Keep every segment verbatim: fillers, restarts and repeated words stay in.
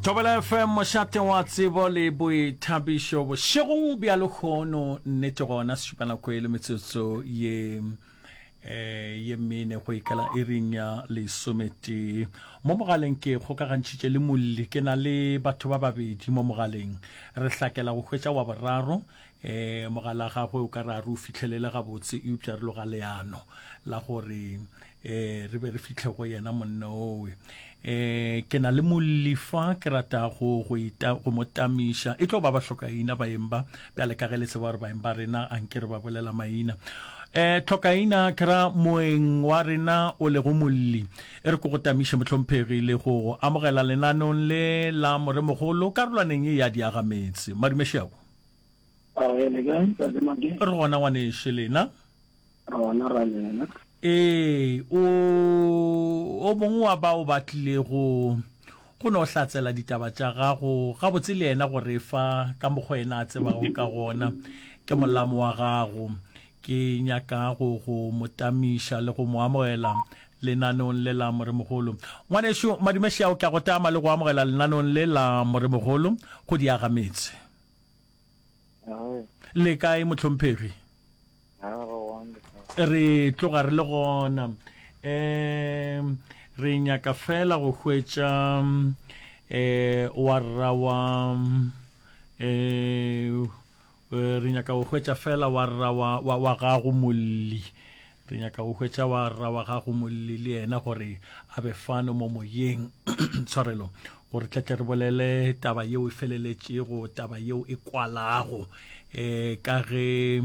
Thobela F M, mošate wa tsebo le boithabišo bošegong bja lehono. Nnete gona sešupanako e le metsotso ye eh, ye mene go ikela iring ya lesometee. Mo mogaleng ke kgokagantšhitše le molli, ke na le batho ba babedi mo mogaleng. Re hlakela go hwetša wa boraro, eh, mogala gagwe o ka re a re o fihlelele gabotse, eupša re loga leano la gore eh, re be re fihle go yena monna owe. Eh, ke na le molli fa ke ratago go ita, go mo tamiša. E tlo ba ba hlokaina baeng ba, bjale ka ge le tseba gore baeng ba rena a nke re ba bolela maina. Eh, hlokaina ke ra moeng wa rena o lego molli. E re ko go tamiše mohlomphegi le go go amogela lenaneong le la Moremogolo karolwaneng ye ya Diagametse. Madumešego. A re le kae, Ntate Make? Re gona ngwanešu, lena? Re gona ra lena. Ee, o, o mongwe wa bao ba tlilego go no hlatsela ditaba tša gago gabotse le yena go re fa ka mokgwa yena a tsebago ka gona. Ke molamo wa gago. Ke nyaka go go mo tamiša le go mo amogela lenaneong le la Moremogolo. Ngwanešu Madumešao, ke a go tama le go amogela lenaneong le la Moremogolo go Diagametse. Le kae mohlomphegi? Re tloga re le gona. Um re nyaka fela go hwetša eh wa rra wa eh re nyaka go hwetša fela wa rra wa, wa, wa gago molli. Re nyaka go hwetša wa rra wa gago molli le yena gore a be fano mo moyeng. Tshwarelo, gore tle tle re bolele taba yeo e feleletšego, taba yeo e kwalago, eh ka ge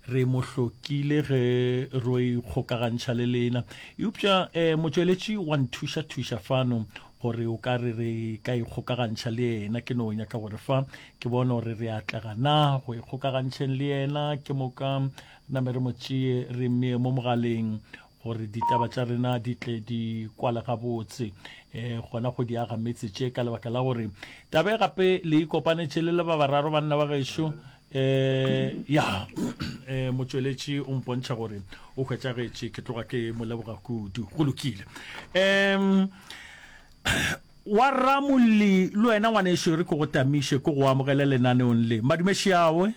re mo hlokile ge ro ikgokagantšha le lena. Eupša eh motšweletši wa nthuša thuša fano gore o ka re re ka ikgokagantšha le yena. Ke no nyaka gore fa ke bone gore re atlega na go ikgokagantšheng le yena, ke moka name re mo tšee re mmee mo mogaleng gore ditaba tša rena di tle di kwale gabotse, eh gona go di aga metse tše, ka lebaka la gore taba e gape le ikopanetše le le ba bararo banna ba gešo. Eh ya, eh motšweletši o mpontšha gore o hwetšagetše, ke tloga ke mo leboga kudu. Go lokile. Em wa ramolli le wena ngwanešu re ke go tamiše, ke go amogele lenaneong le. Madumešeawe.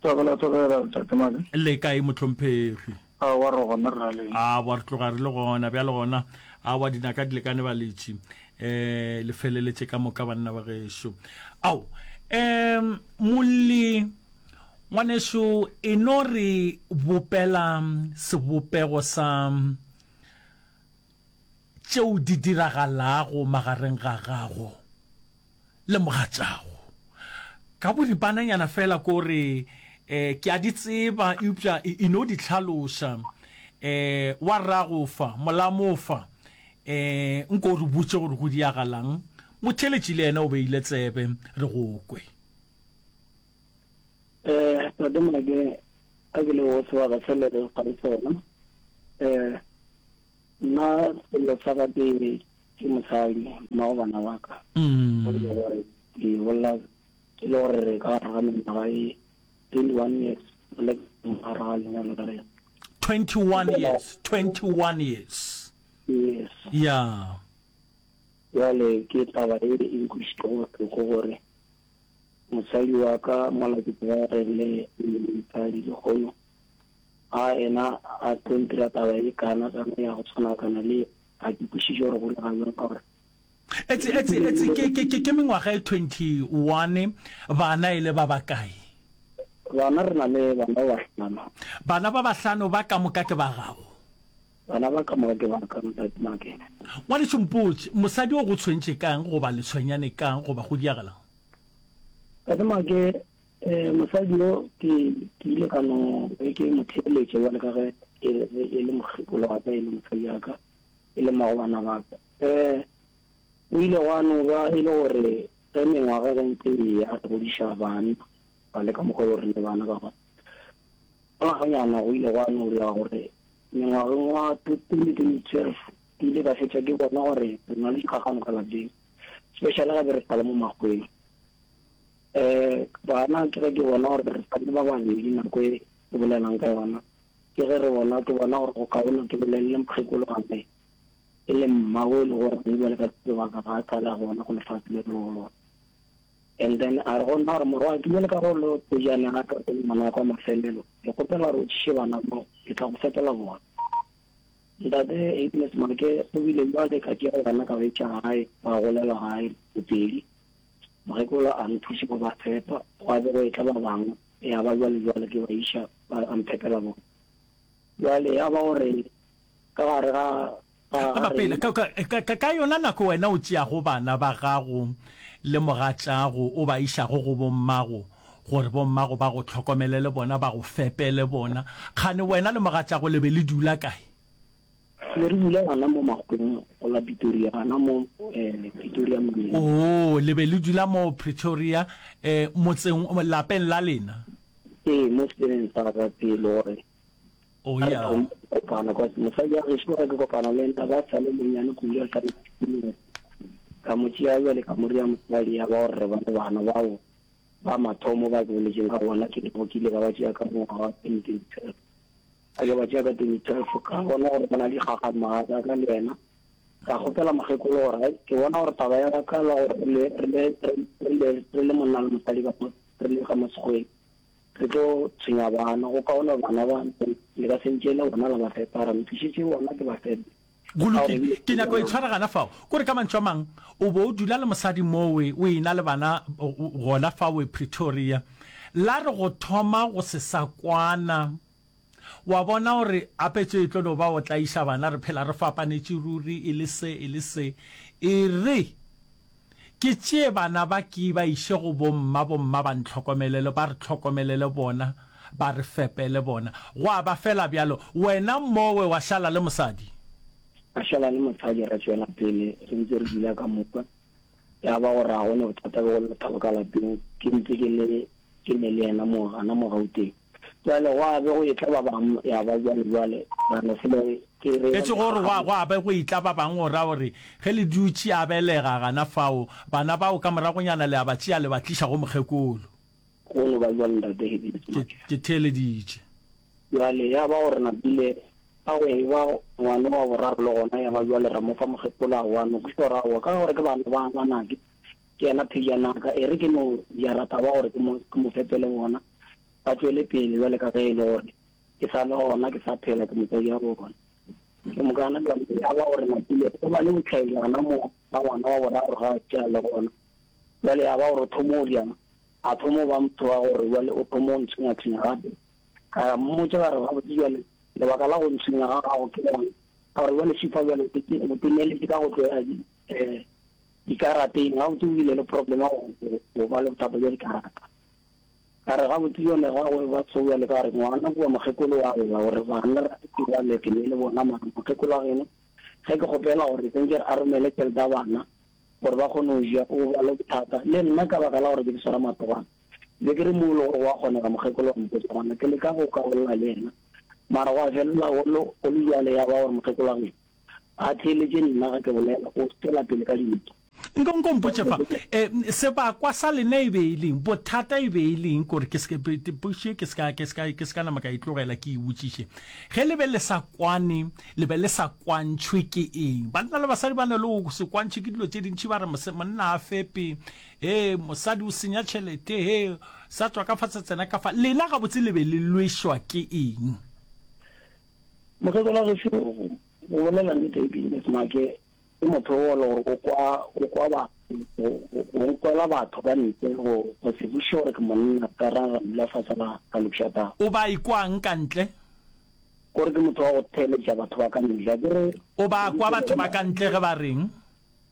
Thobela, thobela, Ntate Male. Le kae mohlomphegi? A wa re gona re le. A wa re tloga re le gona bjale gona. A wa dinaka di lekane baletši. Eh le feleletše ka moka banna ba gešo. Ao, em molli ngwanešu e no re bopela sebopego sa tšeo di diragalago magareng ga gago le mogatšago. Ka boripananyana fela ko re eh ke a di tseba, eupša e no di hlaloša. Eh wa rago fa, molamo fa, eh nko re botše gore go diagalang. Motheletši le yena o beile tsebe, re go kwe. Eh Ntate Make, ka ke le go sebaka se le re fa sona, eh nna sello sa ka ke ke mosadi, mmago bana ba ka. Mm. Ke bolela ke le gore re ka gare ga mengwaga e twenty-one years, re le ka gare ga lenyalo la rena. twenty-one years, twenty-one years. Yes. Yeah. Jwale ke taba e e nkwišitšego bohloko gore mosadi wa ka mola ke tseba re le mosadi lekgono, a ena a tlo ntira taba e kana kana ya go tshwana kana le ga ke kwešiše gore go direga bjang ka gore Etse, etse, etse, ke, ke, ke, ke mengwaga e twenty-one, bana e le ba bakae? Bana re na le bana ba bahlano. Bana ba bahlano ba ka moka ke ba gago? Bana ba ka moka ke ba ka, Ntate Make. Ngwanešu mpotše, mosadi o go tshwentše kang goba le tshwenyane kang goba go diagalang? Ntate Make, eh, mosadi yo ke, ke ile ka no be ke mo theeletše bjale ka ge e, e le mokgekolo wa ka, e le mosadi wa ka, e le mmago bana ba ka. Eh, o ile gwa no ba e le gore ge mengwaga ge ntse e ya re godiša bana, ba le ka mokgwa o re le bana ba gona. Ngwaganyana go ile gwa no dira gore mengwageng wa twenty twelve ke ile ka fetša ke bona gore re na le dikgagano ka lapeng, especially gape re sa le mo makgweng. Eh bana ke ge ke bona gore re sa le ba babedi nako e ke bolelang ka yona, ke ge re bona, ke bona gore go kaone ke bolelele mokgekolo gape. E le mmago e le gore ge bjale ka sebaka ga a tlala gona go lefase le re go lona. And then a re go nna gore morwa ke bjale ka go lo pejana ga ka ke ngwana wa kwa mafelelo, ke kgopela gore o tšiše bana bao, ke tla go fepela bona. Ntate Agnes Make o bile bjale ka tšea bana ka ba iša gae, ba golela gae bopedi. Mokgekolo a nthuša go ba fepa, gwa be go etla ba bangwe, ya ba bjale bjale ke ba iša ba a mphepela bona. Bjale ya ba gore ka gare ga ga Ga pele, rena. ka, ka, ka, ka yona nako wena o tšeago bana ba gago le mogatšago o ba išago go bommago, gore bommago ba go hlokomele le bona, ba go fepe le bona, kgane wena le mogatšago le be le dula kae? Be re dula gona mo Makgoweng go la Pretoria, gona mo eh, Pretoria motseng. Oo, le be le dula mo Pretoria, eh, motseng, lapeng la lena? Ee, mo seteleng sa ka pele gore Oh, ga re ya. thoma go kopana, cause mosadi wa gešo ge ke kopana le ena ba sa le monnyane kudu a sa le sixteen years. Ka mo tšea bjale ka mo rea mosadi ya ba gore re ba le bana bao ba mathomo ba ke boletšeng ka bona ke lego ke ile ka ba tšea ka ngwaga wa twenty twenty twelve. Ka ke ba tšea ka twenty twelve ka bona gore go na le dikgakgamaga tsa ka le yena. Ka kgopela mokgekolo gore hai ke bona gore taba ya ka la gore re le re le re le re le monna le mosadi ka mo re le ka mo sekgweng re tlo tshwenya bana go kaone bana ba le ka se ntšeele bona la ba fepa ra ntlišetše bona ke ba fepe. Go Ka gore lokile, ebile ke nyaka go e tshwara gana fao. Kore ka mantšu a mang, o bo o dula le mosadi mowe, o ena le bana gona fawe Pretoria. La re go thoma go se sa kwana, wa bona gore ape tše e tlo no ba go tlaiša bana, re phela re fapanetše ruri, e le se, e le se. E re ke tšee bana ba ke ba iše go bomma, bomma ba ntlhokomelele, ba re hlokomelele bona, ba re fepele bona. Gwa ba fela bjalo. Wena mowe wa šala le mosadi? Ka šala le mosadi ra tšwela pele re ntse re dula ka moka. Ya ba gore ga go ne bothata bjo go lethabo ka lapeng, ke ntse ke le ke ne le yena mo gana mo Gauteng. Bjale gwa be go etla ba bangwe ya ba bjale bjale ra no fela ke re E se gore gwa gwa be go etla ba bangwe go ra gore ge le dutše a belega gana fao, bana bao ka moragonyana le a ba tšea le ba tliša go mokgekolo. Go no ba bjalo ntate Happiness Ke Maja. ke theeleditše. Bjale ya ba gore napile a go eba ngwana wa boraro le gona ya ba bjale ra mo fa mokgekolo aowa no kwešiša gore aowa ka gore ke bana ba ngwanake ke yena phejanaka e re ke no jara taba gore ke mo ke mo fepele bona ba tšwele pele bjale ka ge e le gore ke sa le gona ke sa phela ke motswadi wa bona. Ke mokana bjale ya ba gore napile go ba le botlhaelana mo ba ngwana wa boraro ga a tšea le gona bjale ya ba gore o thomo o diang a thomo ba motho wa gore bjale o thomo o ntshwenya-tshwenya gape. Ka mmotša ka re gabotse bjale lebaka la go ntshwenya ga gago ke lang, ka gore bjale šifa bjale o te- o temeletše ka go tlo ya di- eh, dikarateng gabotse o bile le problem ya go go- go ba le bothata bja dikarata. Ka re gabotse bjale ga go ba so bjale ka re ngwana kua mokgekolo wa lla gore bana ke bjale ke ne le bona mara mokgekolo wa geno ge ke kgopela gore sentše a romele tšhelete ya bana gore ba kgone go ja o ba le bothata le nna ka baka la gore ke di swara matogwana be ke re mo e le gore wa kgonega mokgekolo wa mpotša gona ke leka go ka bolela le yena mara gwa felela go le go le bjale ya ba gore mokgekolo wa geno a theeletše nna ge ke bolela o tšwela pele ka dintwa. Nko nko mpotše fa, eh, sebakwa sa lena e be e leng, bothata e be e leng, kore ke se ke, potšišo ye ke se ka, ke se ka, ke se ka nama ka e tlogela ke e botšiše. Ge le be le sa kwane, le be le sa kwantšhwe ke eng? Banna le basadi ba na le go se kwantšhwe ke dilo tše dintši, ba re mose, monna a fepe, he, mosadi o senya tšhelete, he, sa tšwa ka fa sa tsena ka fa. Lena gabotse le be le lwešwa ke eng? Mokgekolo wa gešo go bolela nnete Business Make ke motho o le gore o kwa o kwa batho go nkwela batho ka ntle go go se buše gore ke monna ka ra ra dula fase ra ra lokiša taba. O ba ikwang ka ntle? Gore ke motho wa go theeletša batho ba ka ntle akere. O ba kwa batho ba ka ntle ge ba reng?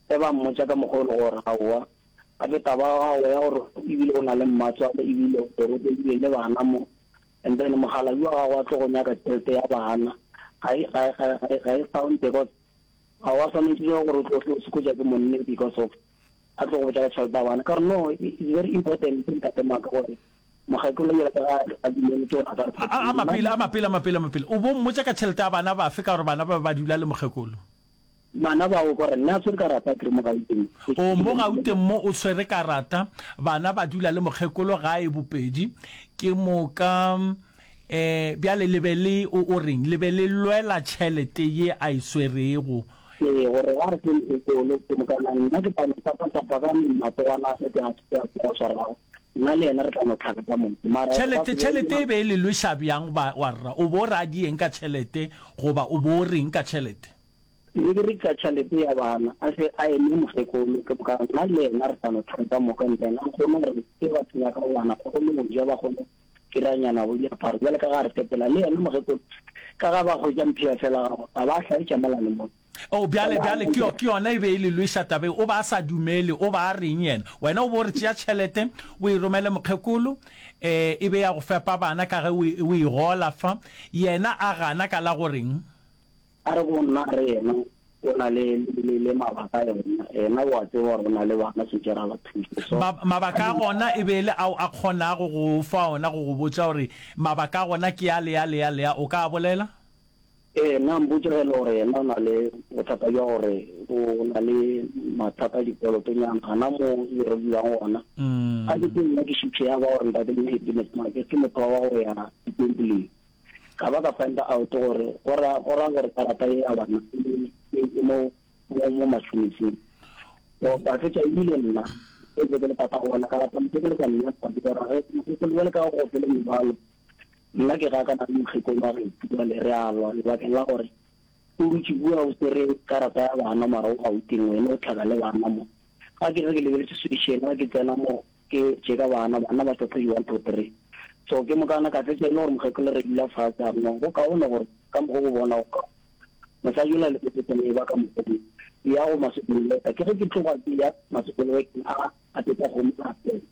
Ge ba mmotša ka mokgwa o le gore aowa gape taba ya gago ya gore ebile o na le mmatswale ebile o robegile le bana mo and then mokgalabje wa gago a tlo go nyaka tšhelete ya bana ga e ga e ga e ga e sound because ga wa swanetše gore o tlo tlo sekotša ke monne because of a tlo go botša ka tšhelete ya bana ka gore no it's very important ntate Maka gore mokgekolo yela ka ga a dumeletse gore a ka re A a mapele a mapele a mapele a mapele o bo mmotša ka tšhelete ya bana bafe ka gore bana ba be ba dula le mokgekolo? Bana bao ka gore nna a tshwere karata ke re mo Gauteng. O mo Gauteng mo o tshwere karata bana ba dula le mokgekolo gae bopedi ke moka eh bjale le be le o o reng le be le lwela tšhelete ye a e swerego Ee, gore ga re ke mokgekolo ke mokana nna ke tla no tapa-tapa ka matsogwana a ke a ke a swarago nna le yena re tla no tlhaka ka moka mara Tšhelete tšhelete e be e le lweša bjang ba wa rra o bo ra di eng ka tšhelete goba o bo reng ka tšhelete? Ne ke re ka tšhelete ya bana a se a eme mokgekolo ke mokana nna le yena re tla no tlhaka ka moka and then a kgone gore ke batho ba ka bana ba kgone go ja ba kgone kiranyana bo diaparo bjale ka ga re fepela le yena mokgekolo ka ga ba hwetša mphiya fela gago a ba hlaetša mola le mo. Oh, bjale, bjale, ke, ke yona e be e le lweša taba ye. O ba a sa dumele, o ba a reng yena? Wena o bo re tšea tšhelete o e romele mokgekolo, eh, e be ya go fepa bana ka ge o e, o e gola fa. Yena a gana ka la go reng? A re go nna, a re yena o na le, le, le mabaka a yona. Yena o a tseba gore o na le bana, swantše re a ba thuše. So, Ma, mabaka a gona e be e le ao a kgonago go o fa ona, go go botša gore mabaka a gona ke a le a le a le a. O ka a bolela? Ee, nna mpotše ge e le gore yena o na le bothata bja gore o na le mathata a dikolotonyana gana mo e re dulang gona. Ga ke tse nna ke šuthe ya ba gore ntate Happiness Make ke motho wa go ya ditempoleng. Ka ba ka find out gore go ra go ra gore karata ye ya bana e e mo mo mo mashoniseng. So ka fetša ebile nna e be ke le tata gona ka rata mokgekolo ka nna ka gore ge mokgekolo jwale ka go gopele mebalo nna ke gakana le mokgekolo wa gešo jwale re a lwa lebakeng la gore o dutše kua o swere karata ya bana mara o Gauteng wena o tlhaka le bana mo. Ga ke ge ke lebeletše solution ga ke tsena mo ke checka bana bana ba hlopha di one two three so ke mokana ka fetša e le gore mokgekolo re dula fatshe a re no go kaone gore ka mokgo go bona go kaone mosadi yola le pepetsane e ba ka mokgo ya go masokoloeta ke ge ke tloga ke ya masokoloeteng a a tetsa kgomo a tsena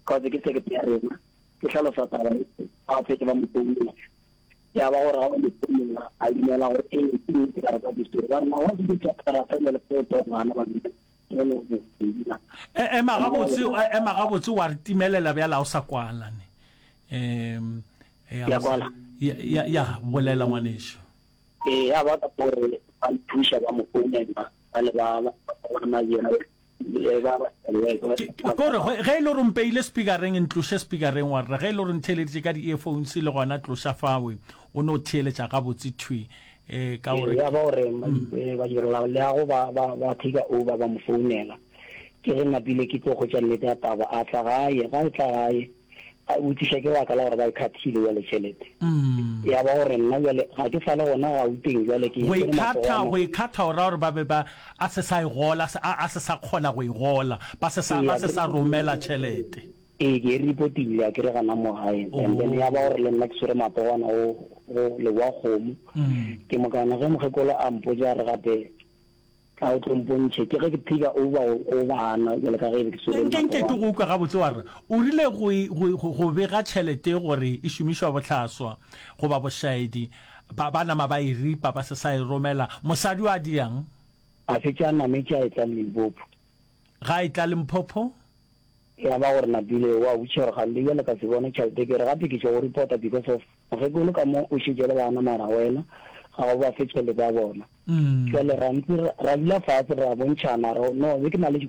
cause ke sekete ya rena ke hlalosa taba e ba fetše ba mo founela ya ba gore ga ba mo founela a dumela gore ee ke nnete karata ke swere ba re ma wa ke tša karata jale fo to bana ba E, ema gabotse, ema gabotse wa re timelela bjale a o sa kwala ne. Um ya kwala ya ya, ya bolela ngwanešu. Ee, ya ba ka gore ba nthuša ba mo founela ba le ba ba ba yena Kore ge e le gore o mpeile speakereng, ntloše speakereng wa rra. Ge e le gore ntheeleditše ka di-earphones le gona tloša fawe, o no theeletša gabotse thwi. Eh, ka gore ya ba gore badirela leago ba ba ba take over ba mo founela. Ke ge napile ke tlo hwetša nnete ya taba, a tla gae, ga e tla gae a botšiša ke baka la gore ba e khathile bjale tšhelete. Ya ba gore nna bjale ga ke sa le gona Gauteng bjale ke Go e khatha, go e khatha o ra gore ba be ba a se sa e gola, a a se sa kgona go e gola, ba se sa ba se sa romela tšhelete. Ee, ke e repotile a ke re gana mo gae and then ya ba gore le nna ke swere matogwana go go leboa kgomo. Ke mokana ge mokgekolo a mpotša a re gape tla o tlo mpontšhe ke ge ke take over go bana bjale ka ge e be ke swere Nke nke ke go utlwa gabotse wa re o rile go go go go bega tšhelete gore e šomišwa bohlaswa goba bošaedi ba ba nama ba e ripa ba se sa e romela mosadi o a diang? A fetša a nametše a etla Limpopo. Ga a etla Limpopo? Ya ba gore napile wa botšiša gore gante bjale ka se bone tšhelete ke re gape ke tšo go reporta because of mokgekolo ka mo o šetše le bana mara wena ga o ba fe tšhelete ya bona. Jwale ra ntse ra dula fatshe ra bontšhana re no be ke na le